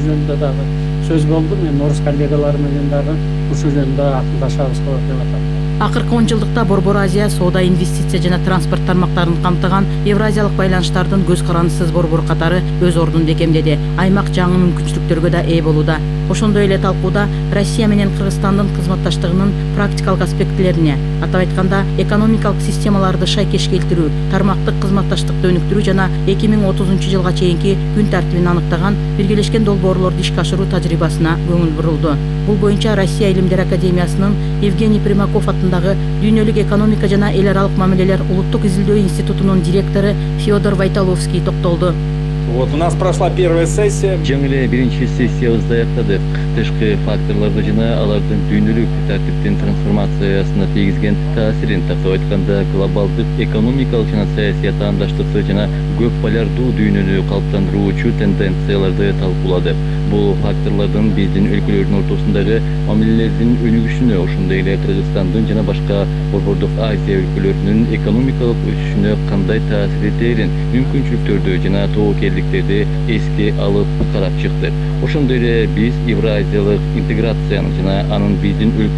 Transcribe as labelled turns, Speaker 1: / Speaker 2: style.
Speaker 1: жөнүндө дагы сөз болду. Мен орус коллегалар менен дагы ушул жөнүндө акылдашабыз деп атам.
Speaker 2: Акыркы 10 жылдыкта Борбор Азия соода, инвестиция жана транспорт тармактарын камтыган евразиялык байланыштардын көз карандысыз борбору катары өз ордун бекемдеди. Аймак жаңы мүмкүнчүлүктөргө да ээ болууда. Ошондой эле талкууда Россия менен Кыргызстандын кызматташтыгынын практикалык аспектилерине, атап айтканда экономикалык системаларды шайкеш келтирүү, тармактык кызматташтыкты өнүктүрүү жана 2030 жылга чейинки күн тартибин аныктаган биргелешкен долбоорлорду ишке ашыруу тажрыйбасына көңүл бурулду. Бул боюнча Россия Илимдер академиясынын Евгений Примаков аттындагы Дүйнөлүк экономика жана эл аралык мамилелер улуттук изилдөө институтунун директору Федор Войталовский токтолду.
Speaker 3: Вот у нас прошла первая сессия.
Speaker 4: Жаңы эле биринчи сессиябызды аяктадык. Тышкы факторлорду жана алардын дүйнөлүк тартиптин трансформациясына тийгизген таасирин, тактап айтканда глобалдык экономикалык жана саясий атаандаштыкты жана көп полярдуу дүйнөнү калыптандыруучу тенденцияларды талкууладык. Бул факторлордун биздин өлкөлөрдүн ортосундагы мамилелердин өнүгүшүнө, ошондой эле Кыргызстандын жана башка борбордук Азия өлкөлөрүнүн экономикалык өсүшүнө кандай таасир этерин, мүмкүнчүлүктөрдү жана тобокелдиктерди эске алып карап чыктык. Ошондой эле биз евразиялык интеграциянын жана анын биздин